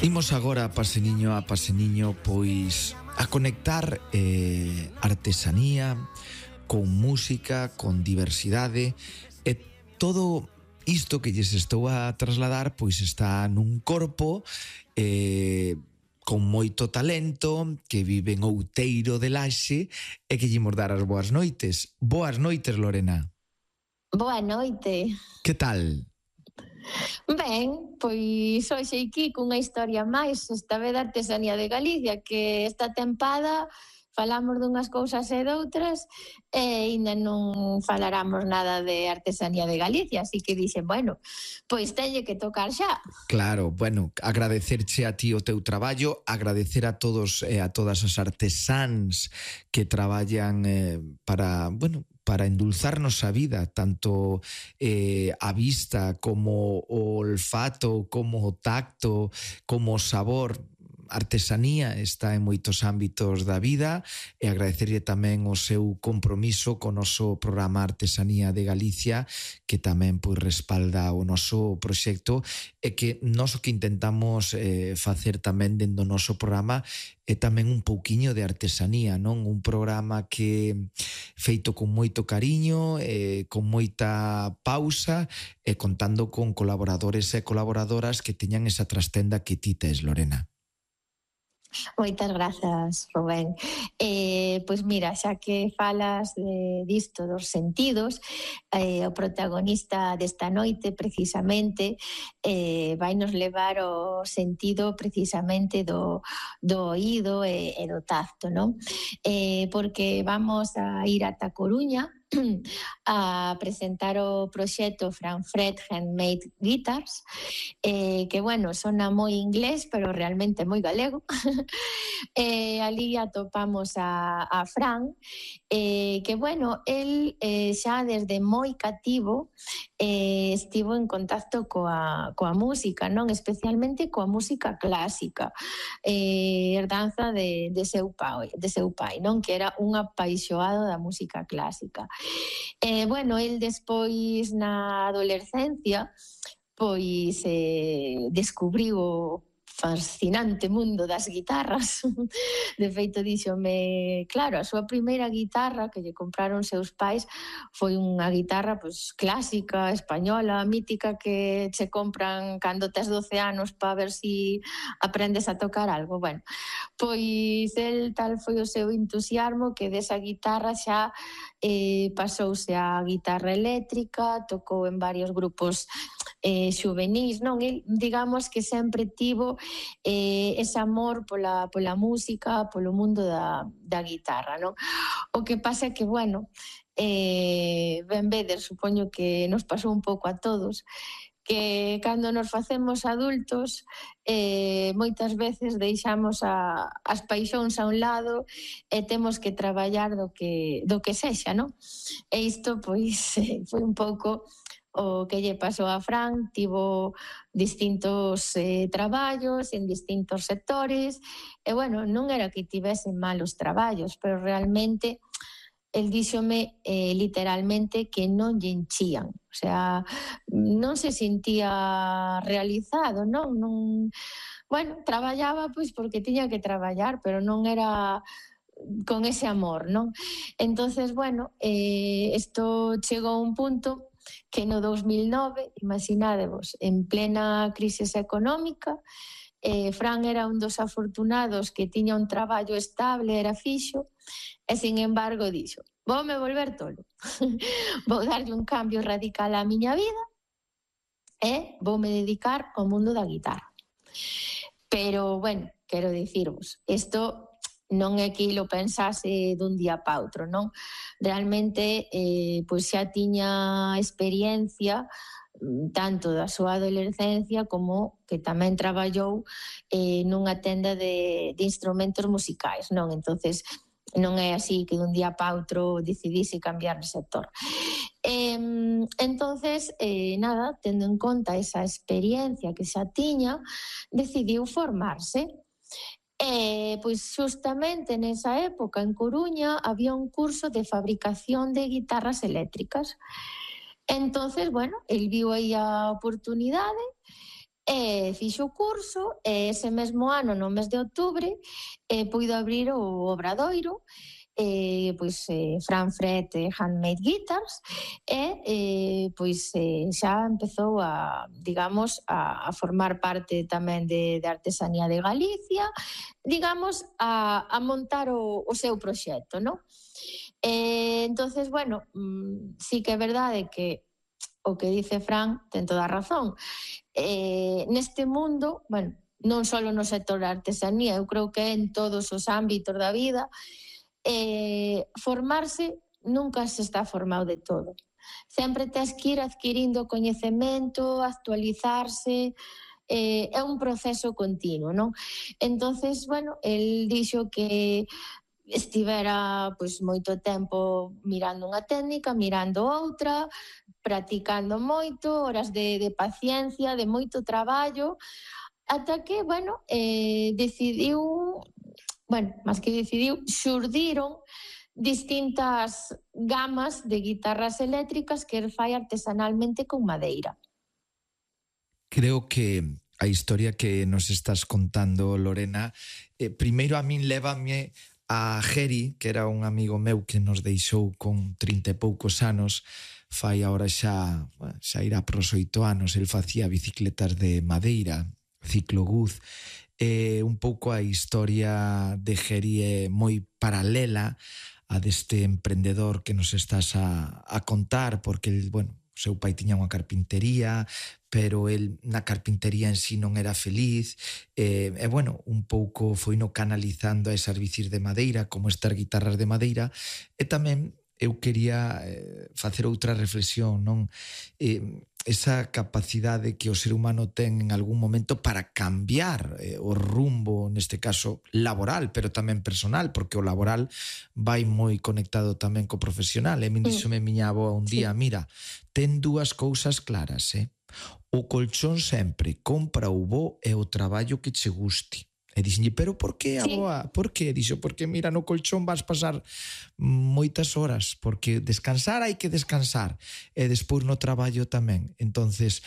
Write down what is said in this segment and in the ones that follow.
Imos agora a paseniño, pois a conectar artesanía con música, con diversidade, e todo isto que lles estou a trasladar pois está nun corpo con moito talento, que vive en Outeiro de Laxe e que lle imos dar as boas noites. Boas noites, Lorena. Boa noite. Que tal? Ben, pois hoxe aquí cunha historia máis, esta vez da artesanía de Galicia, que esta tempada falamos dunhas cousas e doutras e ainda non falaramos nada de artesanía de Galicia, así que dixen, bueno, pois teñe que tocar xa. Claro, bueno, agradecerche a ti o teu traballo, agradecer a todos e a todas as artesáns que traballan para endulzarnos a vida, tanto a vista como o olfato, como o tacto, como o sabor. Artesanía está en moitos ámbitos da vida e agradecerlle tamén o seu compromiso co noso programa Artesanía de Galicia, que tamén pois respalda o noso proxecto e que nós o que intentamos facer tamén dentro do noso programa é tamén un pouquiño de artesanía, non? Un programa que feito con moito cariño, con moita pausa e contando con colaboradores e colaboradoras que teñan esa trastenda que ti tes, Lorena. Moitas grazas, Rubén. Pois mira, xa que falas disto dos sentidos, o protagonista desta noite precisamente vai nos levar ao sentido precisamente do oído e do tacto, non? Porque vamos a ir ata Coruña a presentar o proxecto Franfred Handmade Guitars, que, bueno, sona moi inglés, pero realmente moi galego. Ali atopamos a Fran, que, bueno, el xa desde moi cativo estivo en contacto coa música, non? Especialmente coa música clásica, herdanza de seu pai, non? Que era un apaixoado da música clásica. Bueno, el despois na adolescencia pois descubriu o fascinante mundo das guitarras. De feito, díxome, claro, a súa primeira guitarra que lle compraron seus pais foi unha guitarra pois clásica, española, mítica, que che compran cando tes 12 anos para ver si aprendes a tocar algo. Bueno, pois el tal foi o seu entusiasmo que desa guitarra xa pasouse á guitarra eléctrica, tocou en varios grupos xuvenís, non? El, digamos que sempre tivo ese amor pola música, polo mundo da guitarra, non? O que pasa é que, bueno, ben vedes, supoño que nos pasou un pouco a todos, que cando nos facemos adultos moitas veces deixamos as paixóns a un lado e temos que traballar do que sexa, non? E isto, pois, foi un pouco o que lle pasou a Fran. Tivo distintos traballos en distintos sectores e, bueno, non era que tivesen malos traballos, pero realmente el díxome literalmente que non lle enchían, o sea, non se sentía realizado, non? Bueno, traballaba pois porque tiña que traballar, pero non era con ese amor, non? Entonces, bueno, isto chegou a un punto que no 2009, imaginádevos, en plena crisis económica, Fran era un dos afortunados que tiña un traballo estable, era fixo, e, sin embargo, dixo, voume volver tolo, vou darlle un cambio radical á miña vida e voume dedicar ao mundo da guitarra. Pero, bueno, quero dicirvos, isto non é que lo pensase dun día para outro, non? Realmente, pois xa tiña experiencia tanto da súa adolescencia como que tamén traballou nunha tenda de instrumentos musicais, non? Entonces, non é así que dun día para outro decidise cambiar de sector. Entonces, nada, tendo en conta esa experiencia que xa tiña, decidiu formarse. Pois justamente nesa época en Coruña había un curso de fabricación de guitarras eléctricas. Entonces, bueno, el viu aí a oportunidade E fixo o curso e ese mesmo ano, no mes de outubro, puido abrir o Obradoiro, Fran Fred Handmade Guitars xa empezou a formar parte tamén de Artesanía de Galicia, digamos, a montar o seu proxecto, non? Entonces, bueno, sí que é verdade que o que dice Fran ten toda a razón. Neste mundo, bueno, non só no sector da artesanía, eu creo que en todos os ámbitos da vida, formarse nunca se está formado de todo. Sempre tens que ir adquirindo coñecemento, actualizarse, é un proceso continuo, non? Entonces, bueno, el dixo que estivera moito tempo mirando unha técnica, mirando outra, practicando moito, horas de paciencia, de moito traballo, ata que, decidiu, máis que decidiu, xurdiron distintas gamas de guitarras eléctricas que el fai artesanalmente con madeira. Creo que a historia que nos estás contando, Lorena, primeiro a min lévame a Geri, que era un amigo meu que nos deixou con 30 e poucos anos, fai agora xa irá pros 8 anos, el facía bicicletas de madeira, cicloguz, un pouco a historia de Geri é moi paralela a deste emprendedor que nos estás a contar, porque el, o seu pai tiña unha carpintería, pero el na carpintería en sí non era feliz, un pouco foi no canalizando a esas bicis de madeira, como estas guitarras de madeira, e tamén eu quería facer outra reflexión, non? Esa capacidade que o ser humano ten en algún momento para cambiar o rumbo, neste caso laboral, pero tamén personal, porque o laboral vai moi conectado tamén co profesional. E min díxome miña avó un día, mira, ten dúas cousas claras, o colchón sempre, compra o bo e o traballo que che guste. E dixenlle, pero por que, aboa? Por que? Dixo, porque mira, no colchón vas pasar moitas horas, porque descansar hai que descansar, e despois no traballo tamén. Entonces,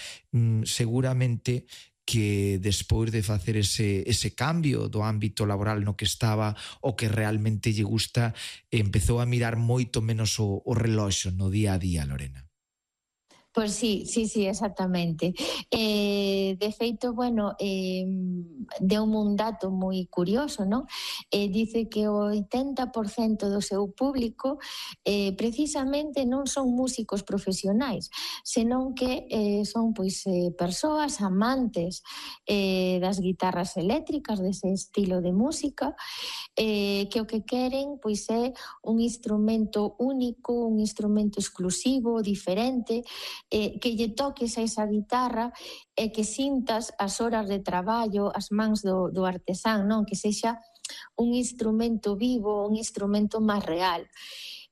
seguramente que despois de facer ese cambio do ámbito laboral no que estaba, o que realmente lle gusta, empezou a mirar moito menos o reloxo no día a día, Lorena. Pois sí, exactamente. De feito, deu-me un dato moi curioso, non? Dice que o 80% do seu público precisamente non son músicos profesionais, senón que son persoas amantes das guitarras eléctricas, dese estilo de música, que o que queren é un instrumento único, un instrumento exclusivo, diferente, que lle toques a esa guitarra e que sintas as horas de traballo, as mans do artesán, non? Que sexa un instrumento vivo, un instrumento máis real.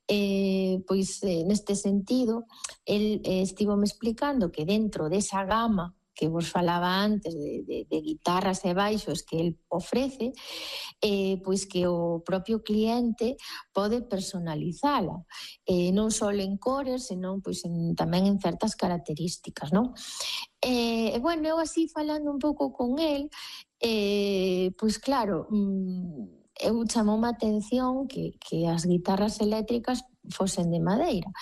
Neste sentido, el estivome explicando que dentro desa gama que vos falaba antes de guitarras e baixos que el ofrece, que o propio cliente pode personalizala, non só en cores, senón tamén en certas características, non? Eu así falando un pouco con el, claro, eu chamoume a atención que as guitarras eléctricas fosen de madeira.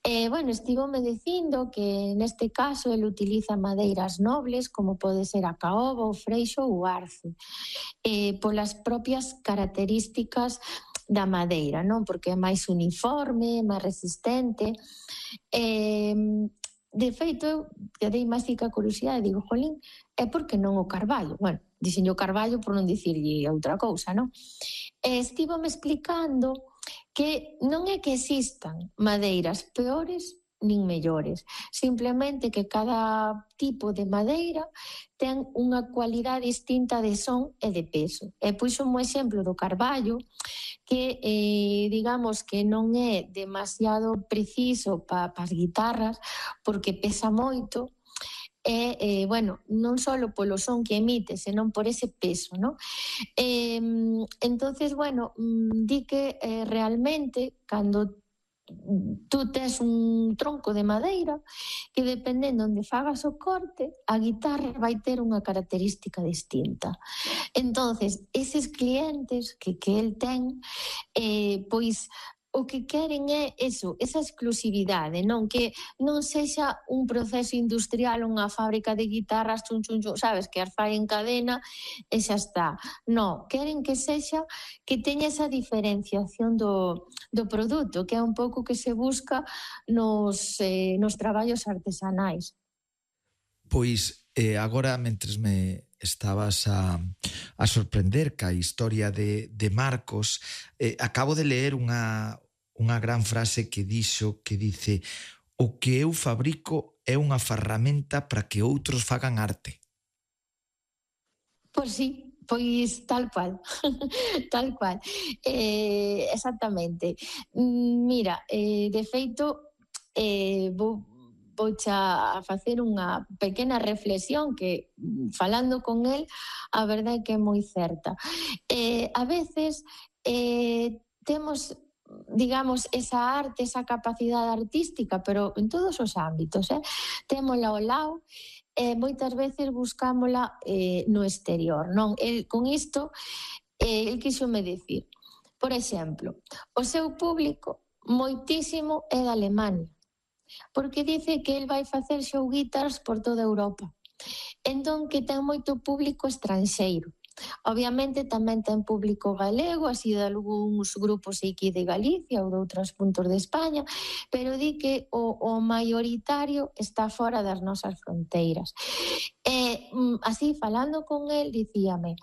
Estivome dicindo que neste caso ele utiliza madeiras nobles como pode ser a caoba, o freixo ou o arce, polas propias características da madeira, non? Porque é máis uniforme, máis resistente. De feito, eu quedei máis fica a curiosidade, digo, jolín, é porque non o carballo? Dixenlle o carballo por non dicirlle outra cousa, non? Estivome explicando que non é que existan madeiras peores nin mellores, simplemente que cada tipo de madeira ten unha cualidade distinta de son e de peso. E puxo un exemplo do carballo que digamos que non é demasiado preciso para as guitarras porque pesa moito, non só polo son que emite, senón por ese peso, non? Entonces, di que realmente cando tú tes un tronco de madeira que dependendo onde fagas o corte, a guitarra vai ter unha característica distinta. Entonces, eses clientes que el ten, pois o que queren é eso, esa exclusividade, non que non sexa un proceso industrial, unha fábrica de guitarras, chun, chun, chun, sabes, que as fai en cadena e xa está. Non, queren que sexa, que teña esa diferenciación do produto, que é un pouco que se busca nos traballos artesanais. Pois agora, mentres me estabas a sorprender ca historia de Marcos, acabo de leer unha gran frase que dixo, que dice: o que eu fabrico é unha ferramenta para que outros fagan arte. Pois sí, pois tal cual, tal cual. Exactamente. Mira, de feito, vouche a facer unha pequena reflexión que, falando con el, a verdade é que é moi certa. A veces temos, digamos, esa arte, esa capacidade artística, pero en todos os ámbitos, témola ao lado, moitas veces buscámola no exterior, non? Con isto, el quixome dicir, por exemplo, o seu público moitísimo é da Alemania, porque dice que el vai facer show guitars por toda Europa. Entón, que ten moito público estranxeiro. Obviamente tamén ten público galego, así de algúns grupos aquí de Galicia ou de outros puntos de España, pero di que o maioritario está fora das nosas fronteiras. Así, falando con el, dicíame,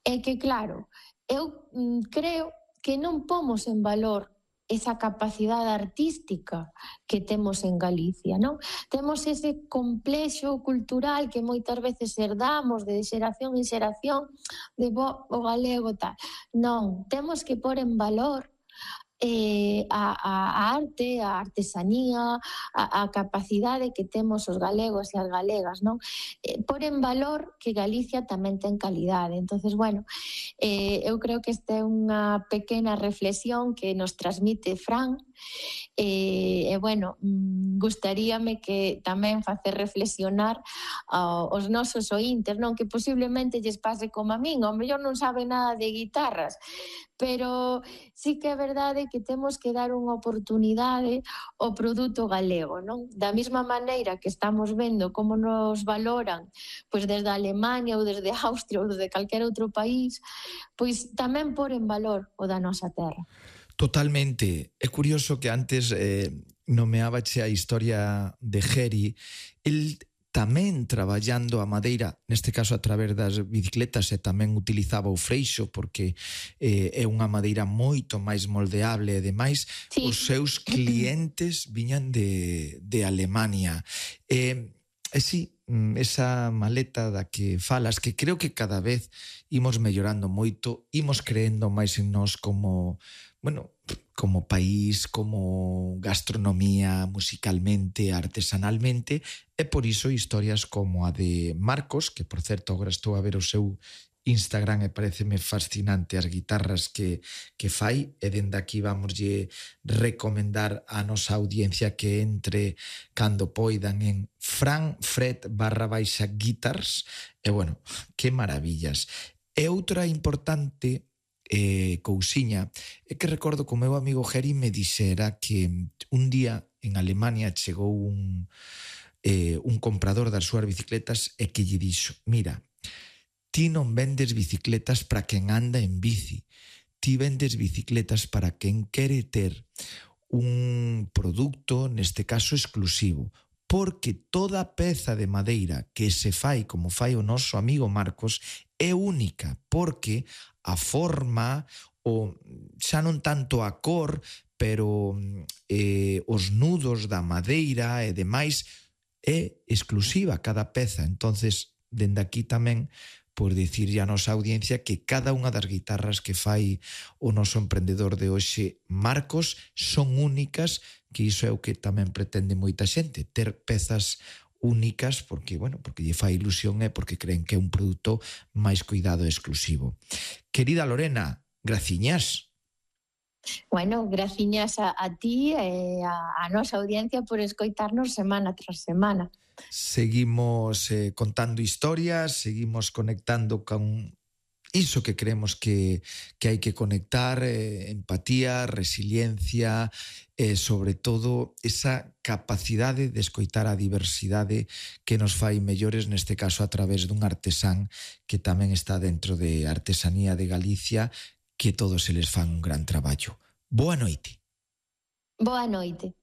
é que claro, eu creo que non pomos en valor esa capacidade artística que temos en Galicia, non? Temos ese complexo cultural que moitas veces herdamos de xeración en xeración de o galego tal. Non, temos que pôr en valor a arte, a artesanía, a capacidade que temos os galegos e as galegas, non? Por en valor que Galicia tamén ten calidade. Entonces, bueno, eu creo que esta é unha pequena reflexión que nos transmite Fran, bueno, gustaríame que tamén facer reflexionar aos nosos ointes, non? Que posiblemente lles pase como a min, ao mellor non saben nada de guitarras, pero sí que é verdade que temos que dar unha oportunidade ao produto galego, non? Da mesma maneira que estamos vendo como nos valoran pois desde Alemania ou desde Austria ou desde calquer outro país, pois tamén pôr en valor o da nosa terra. Totalmente. É curioso que antes nomeabache a historia de Geri. El tamén traballando a madeira, neste caso a través das bicicletas, e tamén utilizaba o freixo porque é unha madeira moito máis moldeable e demais. Sí. Os seus clientes viñan de Alemania. E sí, esa maleta da que falas, que creo que cada vez imos mellorando moito, imos creendo máis en nós como, bueno, como país, como gastronomía, musicalmente, artesanalmente, e por iso historias como a de Marcos, que por certo agora estou a ver o seu Instagram e pareceme fascinante as guitarras que fai, e dende aquí vamoslle recomendar a nosa audiencia que entre cando poidan en franfred_guitars, e bueno, que maravillas. E outra importante cousiña é que recordo que o meu amigo Geri me dixera que un día en Alemania chegou un comprador das súas bicicletas e que lle dixo: mira, ti non vendes bicicletas para quen anda en bici, ti vendes bicicletas para quen quere ter un produto, neste caso exclusivo, porque toda peza de madeira que se fai como fai o noso amigo Marcos é única, porque a forma, o xa non tanto a cor, pero os nudos da madeira e demais é exclusiva cada peza. Entonces, dende aquí tamén por dicirlle a nosa audiencia que cada unha das guitarras que fai o noso emprendedor de hoxe, Marcos, son únicas, que iso é o que tamén pretende moita xente, ter pezas únicas porque, bueno, porque lle fai ilusión e porque creen que é un produto máis cuidado e exclusivo. Querida Lorena, graciñas. Bueno, graciñas a ti e a nosa audiencia por escoitarnos semana tras semana. Seguimos contando historias, seguimos conectando con iso que creemos que hai que conectar, empatía, resiliencia, e sobre todo esa capacidade de escoitar a diversidade que nos fai mellores, neste caso a través dun artesán que tamén está dentro de Artesanía de Galicia, que todos eles fan un gran traballo. Boa noite. Boa noite.